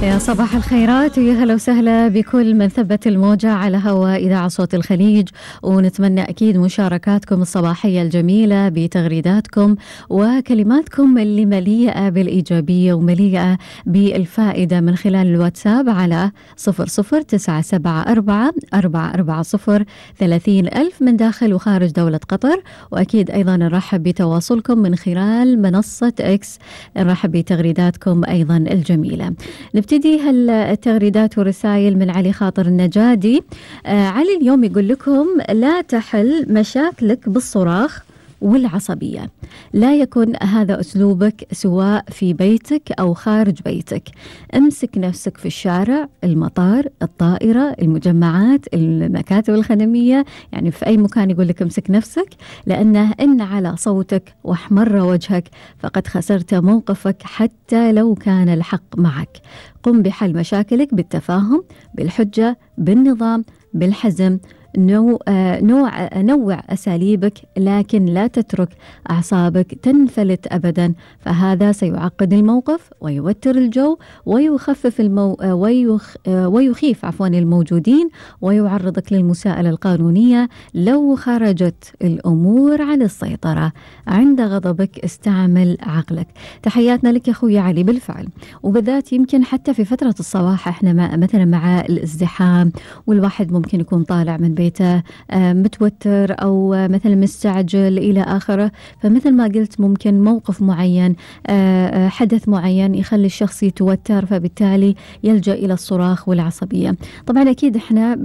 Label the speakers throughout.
Speaker 1: يا صباح الخيرات ويا هلا وسهلا بكل من ثبت الموجة على هواء إذاعة صوت الخليج، ونتمنى أكيد مشاركاتكم الصباحية الجميلة بتغريداتكم وكلماتكم اللي مليئة بالإيجابية ومليئة بالفائدة من خلال الواتساب على 00974 440 30,000 من داخل وخارج دولة قطر. وأكيد أيضا نرحب بتواصلكم من خلال منصة إكس، نرحب بتغريداتكم أيضا الجميلة. نبتدي هالتغريدات والرسائل من علي خاطر النجادي. علي اليوم يقول لكم: لا تحل مشاكلك بالصراخ والعصبية، لا يكن هذا أسلوبك سواء في بيتك أو خارج بيتك. امسك نفسك في الشارع، المطار، الطائرة، المجمعات، المكاتب الخدمية، يعني في أي مكان يقول لك امسك نفسك، لأنه إن على صوتك واحمر وجهك فقد خسرت موقفك حتى لو كان الحق معك. قم بحل مشاكلك بالتفاهم، بالحجة، بالنظام، بالحزم. نوع أساليبك، لكن لا تترك أعصابك تنفلت أبدا، فهذا سيعقد الموقف ويوتر الجو ويخفف ويخيف الموجودين، ويعرضك للمساءلة القانونية لو خرجت الأمور عن السيطرة. عند غضبك استعمل عقلك. تحياتنا لك يا أخوي علي. بالفعل، وبالذات يمكن حتى في فترة الصباح احنا مثلا مع الازدحام، والواحد ممكن يكون طالع من بيته متوتر أو مثلا مستعجل إلى آخره، فمثل ما قلت ممكن موقف معين، حدث معين يخلي الشخص يتوتر، فبالتالي يلجأ إلى الصراخ والعصبية. طبعا أكيد إحنا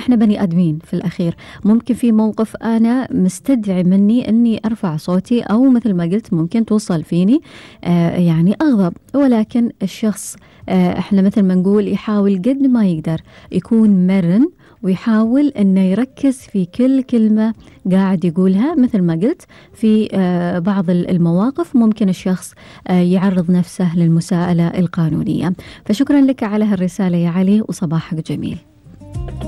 Speaker 1: بني آدمين في الأخير، ممكن في موقف أنا مستدعي مني أني أرفع صوتي، أو مثل ما قلت ممكن توصل فيني يعني أغضب، ولكن الشخص إحنا مثل ما نقول يحاول قد ما يقدر يكون مرن، ويحاول أنه يركز في كل كلمة قاعد يقولها. مثل ما قلت في بعض المواقف ممكن الشخص يعرض نفسه للمساءلة القانونية. فشكرا لك على هالرسالة يا علي، وصباحك جميل.